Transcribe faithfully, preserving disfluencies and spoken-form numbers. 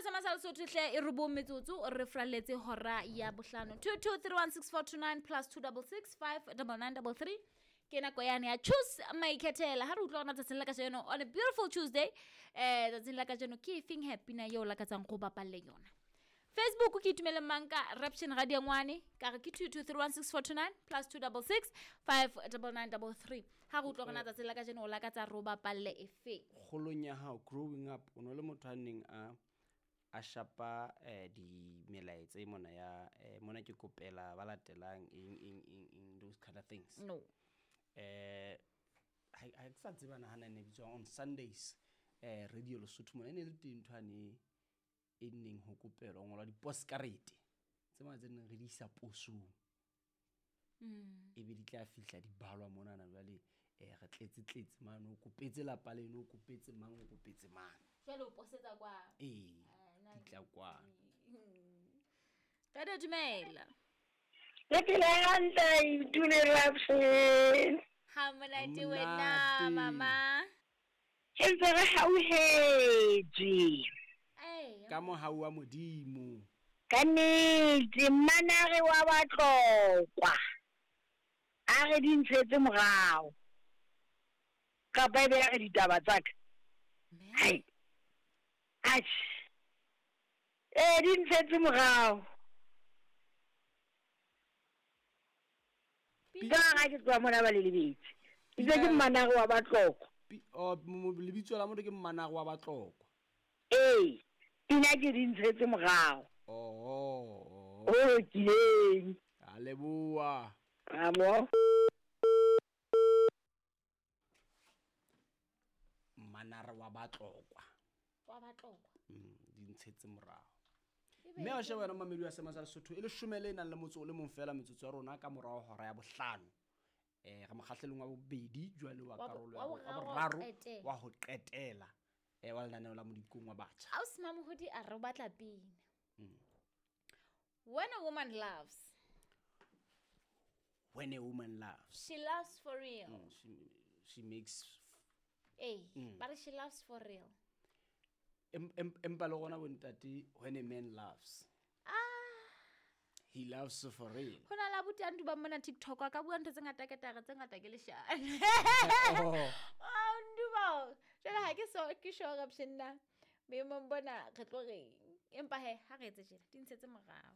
sa masa Lesotho hle e robong metsotso re fralletse hora ya bohlano. two two three one six four two nine plus two double six five double nine double three. Ke nako yane ya choose maikhethela. Ha re utlwa hore na tsatsing la kajeno on a beautiful Tuesday, eh tsatsing la kajeno ke efeng happy na eo lakatsang go bapalle yona. Facebook ke itumele manka Raption Radio Ngwane ka re ke two two three one six four two nine plus two double six five double nine double three. Ha re utlwa hore na tsatsing la kajeno o lakatsa ro bapalle efeng. Kgolong ya hao growing up o no le motho a neng a a shapa eh di melaetsa e mona ya eh mona ke kopela ba latelang eng eng eng eng those kind of things. No. Eh ha ha ke sa tseba na hana ne bitswa on Sundays eh Radio Lesotho mona e ne le teng ntho ane e neng ho kopelwa ngolwa di-postcard tse mona tse neng re di isa posong. Mm. E be di tla fihla di balwa monana jwale eh re tletse tletse mane o kopetse lapa leno o kopetse mang o kopetse mang. Jwale o posetsa kwa. Ee, Ah, na di tla kwa. Ka dumela. Le phela hantle Itune Raption. Ha monate Ha wena monate. mama. Ke ntse re hauhetswe. Ee. Ka mohau wa Modimo. Ka nnete mmanare wa Batlokwa. A re di ntshetse morao. Kapa ebe ya re ditaba tsa ka. Hai. Atjhe. Eh di ntshetse morao. Ka ha ke tloha mona ba le lebetse. Itse ke mmanare wa Batlokwa. Pi-, oh, mo-, mo-, lebitso la motho ke mmanare wa Batlokwa. Ee, pina ke di ntshetse morao. Oh, oh, oh. O lokileng. A leboha. Amo. Mmanare wa Batlokwa. Wa Batlokwa. Mm, di ntshetse morao. Ebe Mme wa sheba wena mamedi wa Sema sa Lesotho e leshome le nang le motso o le mong fela metsotso ya rona ka morao hora ya bohlano. Eh re mokgahlelong wa bobedi jwale wa Wa bo-, karolo wa ya bo-, wa boraro boraro qetela. wa ho qetela. Eh wa lenaneo la Modikong wa Batjha. Ausi Mamohodi a re o batla pina. Mm. When a woman loves. When a woman loves. She loves for real. Mm, she, she makes Eh, Mm. but she loves for real. Em-, em-, empa le rona bontate, when a man loves. Ah. He loves for real. Ho na le abuti a nduba mona TikTok a ka bua ntho tse ngata ke tare tse ngata ke leshano. Oh. Oh, nduba. Jwale ha ke so ke sure option na. Boemong bona re tlo reng. Empa he ha re etse tjena, di ntshetse morao.